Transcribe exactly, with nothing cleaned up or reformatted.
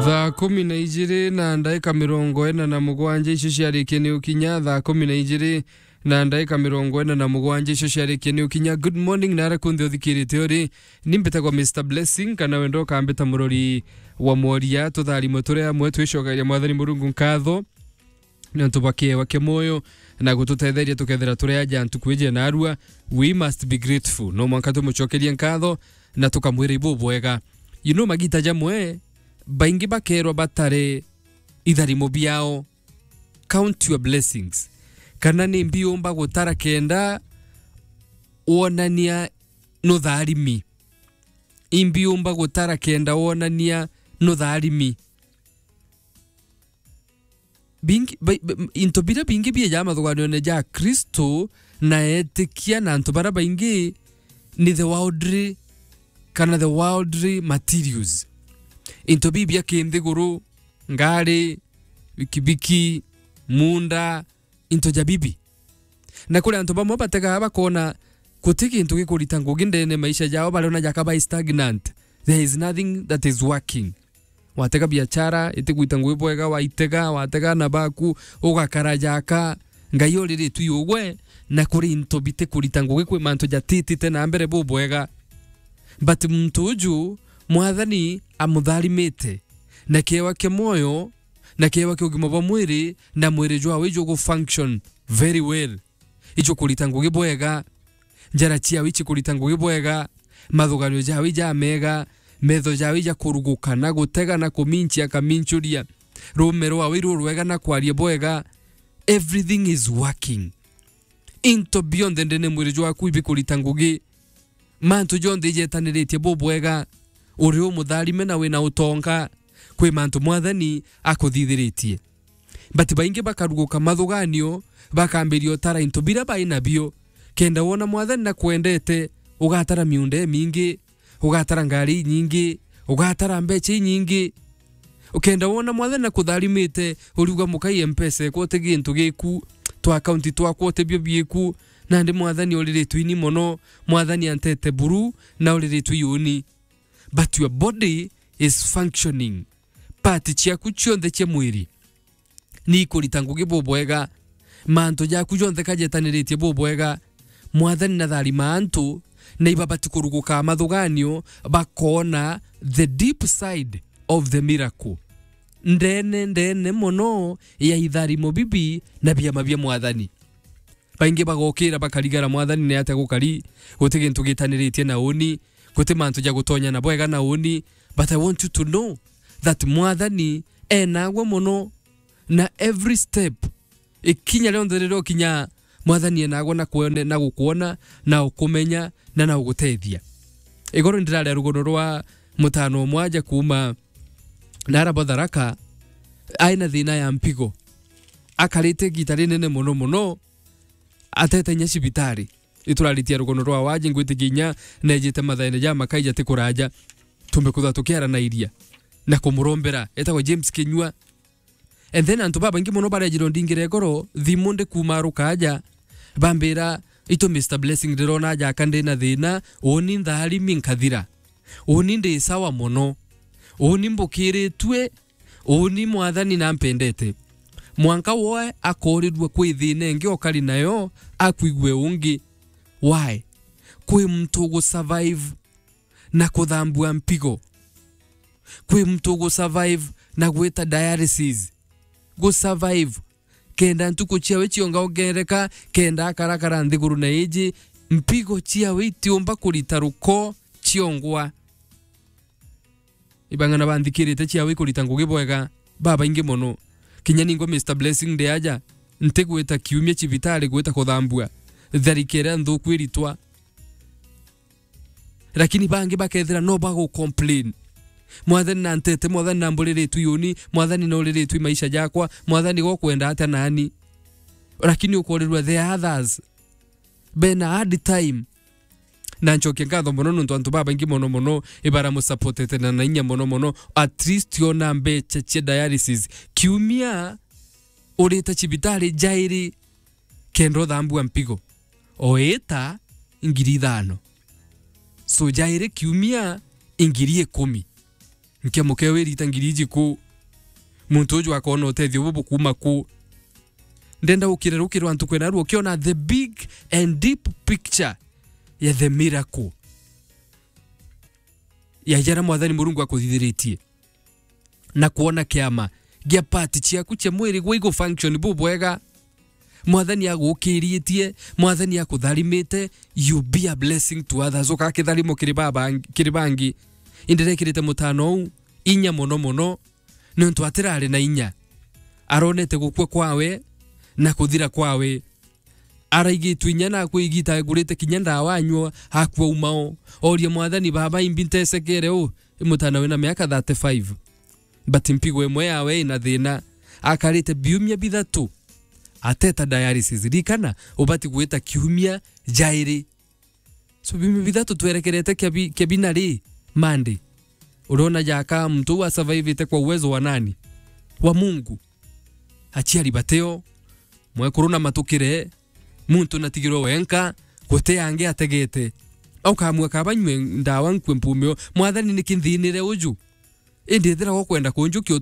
Thaa kumi na ijiri na ndaika mirongo ina na mugwanja icio ciarikie ni ukinya, thaa kumi na ijiri na ndaika mirongo ina na mugwanja icio ciarikie ni ukinya. Good morning, nara kunthe uthikirite uri. Ni mbitagwa Mister Blessing, kana wenda ukambita murori wa mworia. Tutharimo turi amwe, twicokeria Mwathani Murungu nkatho niuntu bwa kiewa kia mwoyo na gututetheria tukethira turi aja ntuku iji narua. We must be grateful. No mwanka tumucokerie nkatho na tukamwira ibubwega. You know, magita jamwe, baingi bakerwa batare itharimo biao. Count your blessings. Kana ni mbi umba gutara kenda wonania nutharimi? Imbi umba gutara kenda wonania nutharimi? Bingi, ba, ba, into biria bingi bieja mathuganione ja Kristo na etikia na antu bara baingi ni the worldly, kana the worldly materials. Into biu bia kinthiguru, ngari, bikibiki, munda, into ja bibi. Na kuri antu bamwe bategaa bakona guti gintu gikurita ngugi ndene maisha jao, bariona jaka bai stagnant. There is nothing that is working. Watega biachara, itikurita ngugi bwega, waitega, watega na baku, ugakara jaka. Ngai uriritwe ugwe, na kuri into bitikurita ngugi, kwi mantu jatitite na mbere bubwega. But muntu uju, Mwathani amutharimite, na kiewa kia mwoyo, na kiewa kia ugima bwa mwiri, na mwiri jwawe jugu function very well. Ijukurita ngugi bwega, njara ciawe icikurita ngugi bwega, mathuganio jawe ijamega, metho jawe ijakuruguka na gutega na kuminchia akaminchuria, rume rwawe irurwega na kwaria bwega. Everything is working. Into bionthe ndene mwiri jwaku ibikurita ngugi. Mantu jonthe ijetaniritie bubwega. Uri umutharime na wina utonga. Kwi mantu Mwathani akuthithiritie. But baingi bakaruguka mathuganio, bakambiria utara into biria bai nabio. Kenda wona Mwathani nakwendete, ugatara miunda imingi, ugatara ngari inyingi, ugatara mbecha inyingi. Ukenda wona Mwathani nakutharimite, uriuga, "Mukai Mpesa ekwa uti gintu giku, twa akaunti twakwa uti bio biku." Nandi Mwathani uriritwe ini mono, Mwathani antete buru, na uriritwe iuni. But your body is functioning. Part ciaku cionthe cia mwiri ni ikurita ngugi bubwega. Mantu jaku jonthe kajetaniritie bubwega. Mwathani natharima antu, na ibabati kuruguka mathuganio, bakona the deep side of the miracle. Ndene, ndene mono ya itharimo bibi na biama bia Mwathani. Baingi bagokira bakarigara, "Mwathani ni atia gukari? Guti gintu gitaniritie na uni, guti mantu ja gutonya na bwega na uni." But I want you to know that Mwathani enagwe mono, na every step, ikinya rionthe riria ukinya, Mwathani enagwe na kwone, na gukwona, na ukumenya, na na ugutethia. Igoro ndiraria rugono rwa mutano umwe aja kuuma nara bwa Tharaka, ai na thina ya mpigo. Akarite igita rinene mono mono, atete inya cibitari. Ituraritie rugono rwa waji, ngwitikia inya nejite mathaene ja makai jati kuraja, tumbe kwithirwa tukiaranairia na kumurombera. Etagwa James Kinyua. And then antu babaingi mono barejirwe ndingire ngoro, thimu ndi kuuma rukaja, bambira, "Itu Mister Blessing, ndirona jaka ndina thina, uni ntharimi nkathira. Uni ndi sawa mono. Uni mbukiritue, uni Mwathani nampendete." Mwanka woe akoorirua kwi thina ingi okari nayo, akwigue ungi. Why? Kwi muntu ugu survive na kuthambua mpigo. Kwi muntu ugu survive na gwita dialysis. Gu survive. Kenda ntuku ciawe ciongaongereka, kenda akarakara nthiguru na iji, mpigo ciawe itiumba kurita ruko ciongwa. Ibang'ana banthikirite ciawe ikurita ngugi bwega, babaingi mono. Kinya ningwa Mister Blessing ndi aja, ntigwita kiumia cibitari gwita kuthambua. Tharikira nthuku iritwa. Lakini bangi bakethira no bagu complain. "Mwathani nantete, Mwathani namburiritwe iuni, Mwathani nuriritwe maisha jakwa, Mwathani gokwenda atia nani?" Lakini ukorirwa the others bena hard time. Na ncokia nkatho mono nontu antu babaingi mono mono ibaramusupportete na na inya mono mono. At least ona mbecha cia dialysis kiumia urita cibitari jairi kenda uthambua mpigo. Oita ngiri ithano. So jairi kiumia ngiri ikumi. Nkia muke wirita ngiri iji ku? Muntu uju akona utethio bubu kuma ku? Ndenda ukire rukiro antu kwena ruo ukiona the big and deep picture ya the miracle ya jara Mwathani Murungu akuthithiritie, na kwona kiama gia part ciaku cia mwiri gwa igu function bubwega. Mwathani agukiritie, Mwathani akutharimite, you be a blessing to others. Ukaa kitharimo kiri babangi, kiri bangi. Indirekirite mutano uu inya mono mono, niuntu atirari na inya. Aronete gukua kwawe na kuthira kwawe. Araigitwe inya na akwi igita agurite kinya ndawa anyua, akua umao. Oria Mwathani, "Baba, imbi ntesekere uu?" I mutana wina miaka thirty-five. But mpigo imwe yawe ina thina. Akarite biumia bithatu. Ateta dialysis. Rikana, ubati gwita kiumia jairi. So, biumia bithatu twerekerete kia bi-, kia bina ri, Monday. Urona jaka muntu uu asurvivite kwa uwezo wa nani? Wa Mungu. Aciari bateo, mwekuru na matukire, muntu natigirwe wenka, guti angi ategete. Ukamweka banywe ndawa nkue mpumio. Mwathani, niki nthinire uju? Indi ethira ukwenda kunjukia